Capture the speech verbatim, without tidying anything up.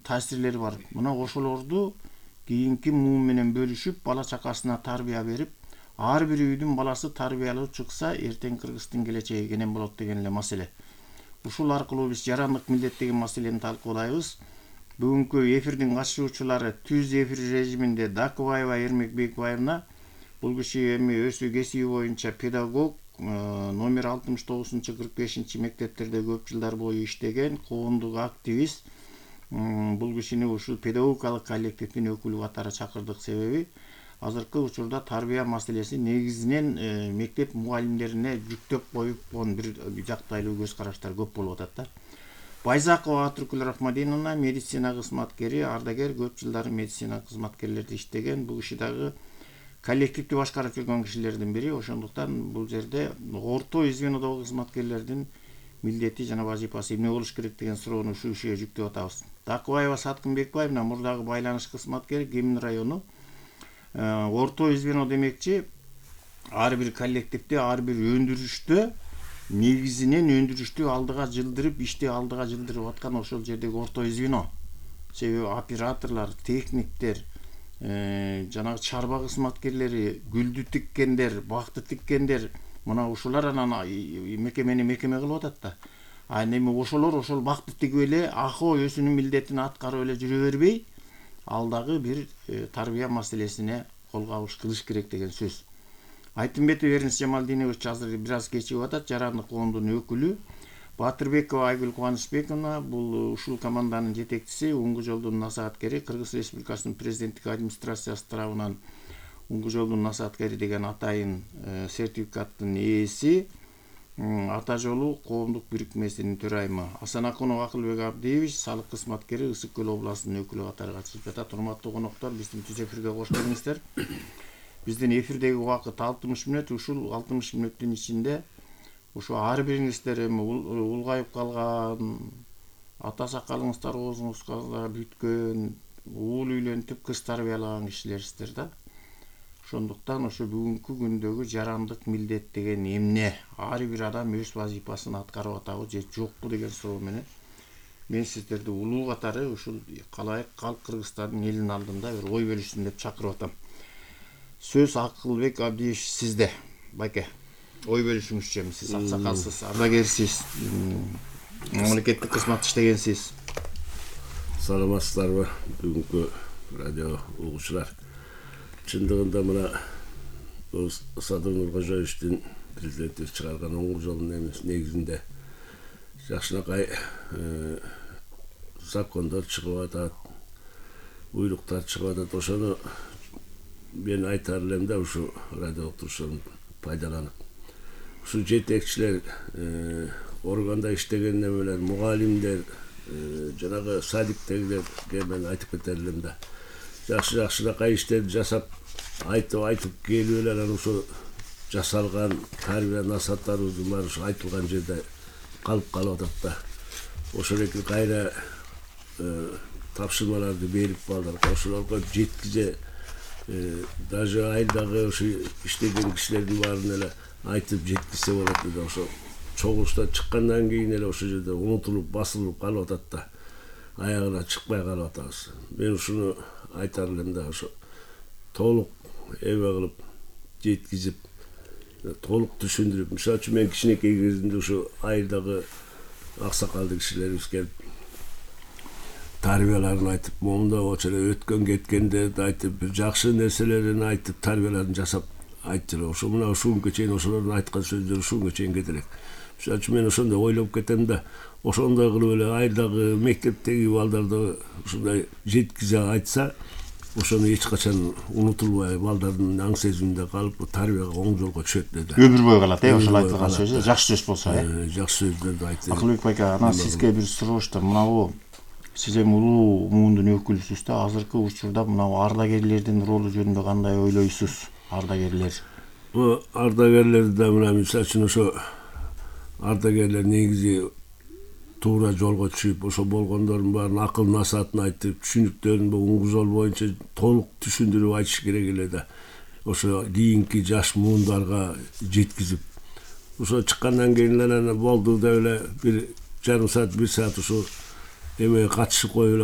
таасирлери бар. Мына ошолорду кийинки муун менен бөлүшүп, бала чакасына тарбия берип, ар бир үйдүн баласы тарбиялуу чыкса, эртең Кыргыздын келечеги кенен болот деген эле маселе. Ушул аркылуу биз жарандык милдет деген маселени талкуулайбыз. Бүгүнкү эфирдин катышуучулары түз эфир режиминде Дакыбаева Эрмек Бекбаевна, бул киши эми өзү кесиби боюнча педагог, номер алтымыш тогузунчу кырк бешинчи мектептерде көп жылдар бою иштеген, коомдук активист. Бул кишини ушул педагогикалык коллективдин өкүлү катары чакырдык. Себеби азыркы учурда тарбия маселеси негизинен мектеп мугалимдерине жүктөп коюпкон бир жактайлуу көз караштар көп болуп атат да. Байзакова Атыркүл Рахмадиновна медицина кызматкери, ардагер, көп жылдар медицина кызматкерлерди иштеген. Бул киши дагы коллективди башкарып жүргөн кишилердин бири. Ошондуктан бул жерде орто звенодогу кызматкерлердин милдети жана вазифасы эмне болуш керек деген суроону ушул кишиге жүктөп атабыз. Дакыбаева Саткын Бекбаевна мурдагы байланыш кызматкери, Кемин району. Орто звено демекчи ар бир коллективде, ар бир өндүрүштө негизинен өндүрүштү алдыга жылдырып, ишти алдыга жылдырып аткан ошол жердеги орто звено. Себеби операторлор, техниктер, жанагы чарба кызматкерлери, гүлдү тиккендер, бакты тиккендер, мына ушулар анан мекемени мекеме кылып атат да. А эми ошолор ошол бакты тигип эле ахо өзүнүн милдетин аткарып эле жүрө бербей, ал дагы бир тарбия маселесине кол кабыш кылыш керек деген сөз. Айтымбетов Эрнис Жамалдинович азыр бир аз кечигип атат, жарандык коомдун өкүлү. Батырбекова Айгүл Кубанычбековна бул ушул команданын жетекчиси, Уңгу жолдун насааткери, Кыргыз Республикасынын президенттик администрациясы тарабынан Уңгу жолдун насааткери деген атайын сертификаттын ээси. Ата жолу коомдук бирикмесинин төрайымы. Асанакунов Акылбек Абдиевич салык кызматкери, Ысык Көл областынын өкүлү катары катышып жатат. Урматтуу коноктор, биздин түз эфирге кош келиңиздер. Биздин эфирдеги убакыт алтымыш мүнөт. Ушул алтымыш мүнөттүн ичинде ушу ар бириңиздер эми улгайып калган, ата сакалыңыздар оозуңузга бүткөн, уул үйлөнтүп кыз тарбиялаган кишилерсиздер да. Ошондуктан ошо бүгүнкү күндөгү жарандык милдет деген эмне? Ар бир адам өз вазифасын аткарып атабы же жокпу деген суроо менен мен сиздерди улуу катары ушул калайык калк Кыргызстандын элинин алдында бир ой бөлүшсүн деп чакырып атам. Сөз Акылбек Абдиевич сизде. Байке, ой бөлүшүңүзчү, эми сиз аксакалсыз, ардагерсиз, мамлекеттик кызмат иштегенсиз. Саламатсыздарбы бүгүнкү радио угуучулар? Чындыгында мына Садыр Нуркожоевичтин президенти чыгарган Уңгу жолунун негизинде жакшынакай закондор чыгып атат, буйруктар чыгып атат. Ошону мен айтар элем да, ушу радио уктурушун пайдаланып. Ушу жетекчилер, органда иштеген немелер, мугалимдер, жанагы садиктегилерге мен айтып кетер элем да. Жакшы жакшынакай иштерди жасап, айтып айтып келип эле анан ушу жасалган тарбия насааттарыбыздын баары ушу айтылган жерде калып калып атат да. Ошол эки кайра тапшырмаларды берип балдарга ошолорго жеткизе, даже айылдагы ушу иштеген кишилердин баарын эле айтып жеткизсе болот эле. Ошо чогулуштан чыккандан кийин эле ошол жерде унутулуп, басылып калып атат да. Аягына чыкпай калып атабыз. Мен ушуну айтар элем да, ошо толук эбе кылып жеткизип, толук түшүндүрүп. Мисалы үчүн мен кичинекей кезимде ушу айылдагы аксакалды кишилерибиз келип тарбияларын айтып, момунда болчу эле өткөн кеткендерди айтып, бир жакшы нерселерин айтып, тарбияларын жасап айтты эле. Ошо мына ушунгө чейин ошолордун айткан сөздөрү ушунгө чейин кете элек. Мисалы үчүн мен ошондой ойлоп кетем да, ошондой кылып эле айылдагы мектептеги балдарды ушундай жеткизе айтса, ошону эч качан унутулбай, балдардын аң сезиминде калып, тарбияга оң жолго түшөт деди. Өмүр бою калат, э, ошол айтылган сөзү, жакшы сөз болсо, э. Жакшы сөздөрдү айтты. Акылбек байке, анан сизге бир сурооштор. Мынабу сиз эми улуу муундун өкүлүсүз да, азыркы учурда мынабу ардагерлердин ролу жөнүндө кандай ойлойсуз? Ардагерлер. Бу ардагерлерди да мына мисалы үчүн ошо ардагерлер негизи туура жолго түшүп, ошо болгондордун баарын акыл насаатын айтып, түшүнүктөрүн бу Уңгу жол боюнча толук түшүндүрүп айтыш керек эле да. Ошо кийинки жаш муундарга жеткизип, ошо чыккандан кийин эле болду деп эле бир жарым саат, бир саат ушу эмеге катышып коюп эле